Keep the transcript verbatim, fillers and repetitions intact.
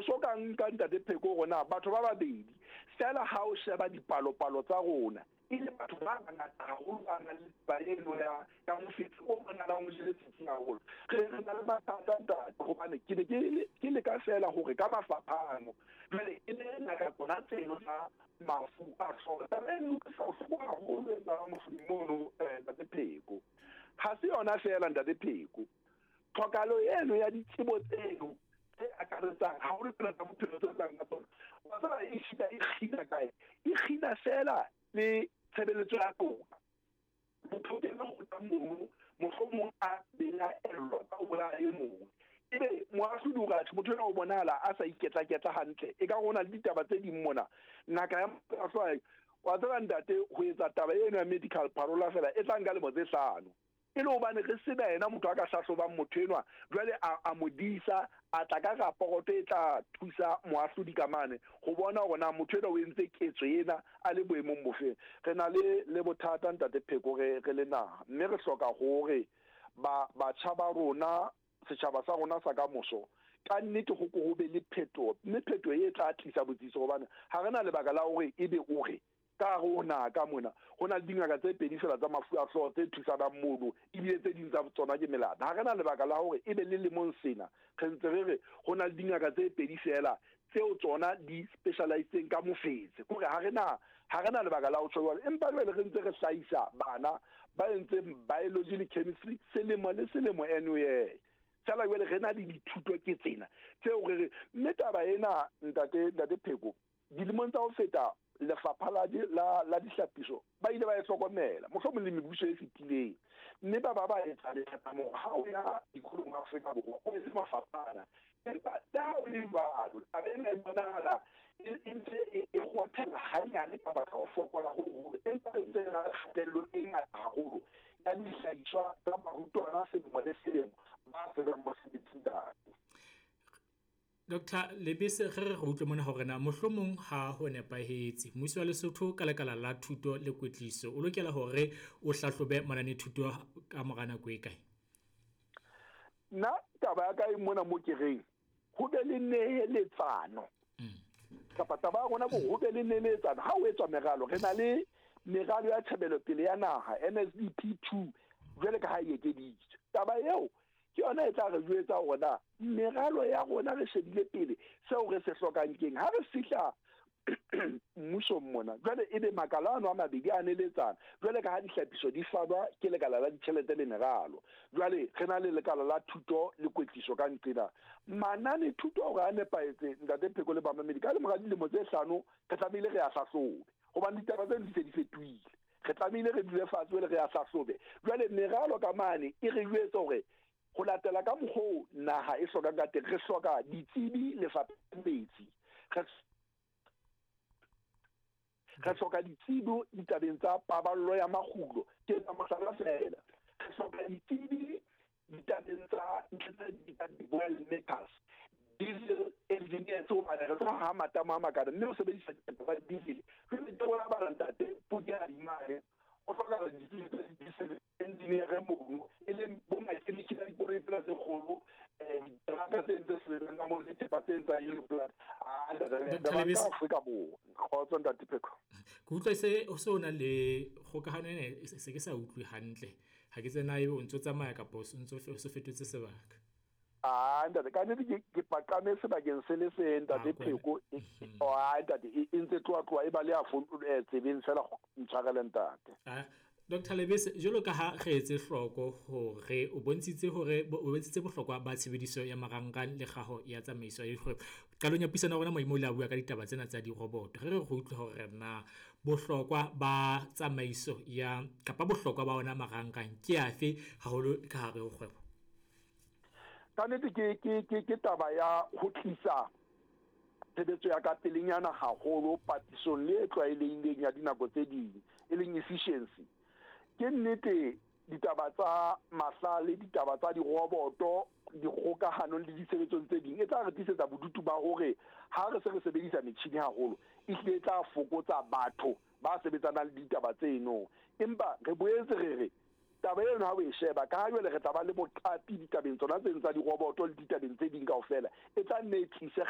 so ka nka, Ntate Pheko, rona batho ba babedi fela, ha o sheba dipalopalo tsa rona, e le batho ba bangata haholo ba nang le taba eno ya ya mofetshe o bonahalang o jele setsi haholo. Re re na le mathata, ntate, hobane ke ne ke le ke leka fela hore ka mafapha ano jwale e le ngaka tsona tseno tsa mafu a hlooho. Taba eno utlwisa bohloko haholo e etsang mofung mono, eh, Ntate Pheko. Ha se yona fela, Ntate Pheko, tlhokahalo eno ya ditsebo tseno tse akaretsang haholo tsena tsa bophelo tse tlang ka tsona, wa tseba, e shita e kgina kae, e kgina fela le tshebeletso ya toka. Motho o kena kgotla mono, mohlomong a belaellwa ka ho bolaya e mong, ebe moahlodi o re motho enwa o bonahala a sa iketla-ketla hantle, e ka ho na le ditaba tse ding mona. Ngaka ya mahlwa, wa tseba, ntate, ho etsa taba eno ya medical parole fela e tla nka lemo tse hlano, e le hobane re sena yena motho a ka hlahlobang motho enwa, jwale a, a mo disa, a tla ka raporoto e tla thusa moahlodi ka mane ho bona hore na motho enwa o entse ketso ena a le boemong bofeng. Re na le le bothata, Ntate Pheko, re re le naha, mme re hloka hore ba batjha ba rona, setjhaba sa rona sa ka moso, ka nnete ho ko ho be le phetoho, mme phetoho e tla tlisa botsitso, hobane ha re na lebaka la hore ebe o re ka hare ho naha ka mona ho na le dingaka tse pedi fela tsa mafu a hlooho tse thusanang mono, ebile tse ding tsa tsona ke melata. Ha re na lebaka la hore ebe le lemong sena re ntse re re ho na le dingaka tse pedi fela tseo tsona di specialisitseng ka mofetshe. Kore ha re na ha re na lebaka la ho tjho jwalo, empa jwale re ntse re hlahisa bana ba entseng biology le chemistry selemo le selemo anyway fela, jwale re na le dithuto ke tsena tseo re re. Mme taba ena, ntate ntate Pheko, dilemong tsa ho feta lefapha la la la dihlapiso ba ile ba e hlokomela, mohlomong le mebuso e fetileng, mme ba ba ba etsa lethathamo ha o ya dikolong Afrika Borwa o etse mafapha ana. Empa le ha o le jwalo, taba ena e bonahala e ntse e kgothela hanyane ka baka ho fokola ho hoholo, empa re ntse re na le kgatello e ngata haholo ya dihlahiswa tsa barutwana selemo le selemo ba sebang mosebetsi, ntate. Doctor Lebese, re re re utlwe mona hore na mohlomong ha ho nepahetse mmuso wa Lesotho ka lekala la thuto le kwetliso o lokela hore o hlahlobe mananethuto ka mora nako e kae? Nna taba ya ka e mona mo ke reng ho be le neheletsano, kapa taba ya rona bo ho be le neheletsano ha o etswa meralo. Re na le meralo ya tjhebelopele ya naha, N S D P two, jwale ka ha e ekeditswe. Taba eo ke yona e tla re jwetsa hore na meralo ya rona re shebile pele seo re se hlokang keng. Ha re fihla mmusong mona jwale, ebe makala ano a mabedi a neletsana, jwale ka ha dihlapiso di fanwa ke lekala la ditjhelete le meralo, jwale re na le lekala la thuto le kwetliso ka nqena manane thuto hore a nepahetse. Ntate Pheko le bamamedi, ka lemora dilemo tse hlano re tlamehile re a hlahlobe, hobane ditaba tseno di se di fetohile. Re tlamehile re dule fatshe jwale re a hlahlobe. Jwale meralo ka mane e re jwetse hore ho latela ka mokgoo naha e hlokang ka teng, re hloka ditsebi lefapheng metsi, re re hloka ditsebi ditabeng tsa paballo ya makgulo, ke etsa mohlala fela, re hloka ditsebi ditabeng tsa ntho tse di-oil makers, diesel engineers, hobane re tlo ha matamo a makana mme o sebedisa ditaba tsa diesel. Jwale ke bona bana, ntate, podi ya dimane o hlokahala ditsebi tsa di-diesel engineer mono, e leng bo mechanic ba dikoloi tsena tse kgolo, um diteraka tse ntse sebetsang ka moo le thepa tse etsang yellow blood. Doctor Lebese. Afrika Borwa, kgotso, Ntate Pheko. Ke utlwa se o se o na le kgokahano ena, e se ke sa utlwe hantle. Ha ke tsena ebe o ntso tsamaya kapa o ntso o so fetotse sebaka. Ah, ntate, ka nnete ke ke paqame sebakeng se le seng, Ntate Ah, kwena. Pheko. e- e- ah, ntate, e e ntse tloha tloha e ba le ya phone eh, tsebeng fela, ntshwarele, ntate. Ah, Doctor Lebese, jwalo ka ha re etse hloko hore o bontshitse hore o bontshitse bohlokwa ba tshebediso ya marangrang le kgaho ya tsamaiso ya dikgwebo. Qalong ya puisano ya rona Moimo o ile a bua ka ditaba tsena tsa diroboto. Re re re utlwe hore na bohlokwa ba tsamaiso ya kapa bohlokwa ba ona marangrang ke afe haholo ka hare ho kgwebo? Ka nnete ke ke ke ke taba ya ho tlisa tshebetso ya ka pelenyana haholo papisong le e tlwaelehileng ya dinako tse ding, e leng efficiency. Ke nnete, ditaba tsa mahlale, ditaba tsa diroboto dikgokahanong le ditshebetsong tse ding e tla re tlisetsa bodutu ba hore ha re se re sebedisa metjhini haholo, ehlile e tla fokotsa batho ba sebetsanang le ditaba tseno. Empa re boetse re re taba eno ha o e sheba ka ha jwale re tla ba le boqapi ditabeng tsona tseno tsa diroboto le ditabeng tse ding kaofela, e tla nne e tlise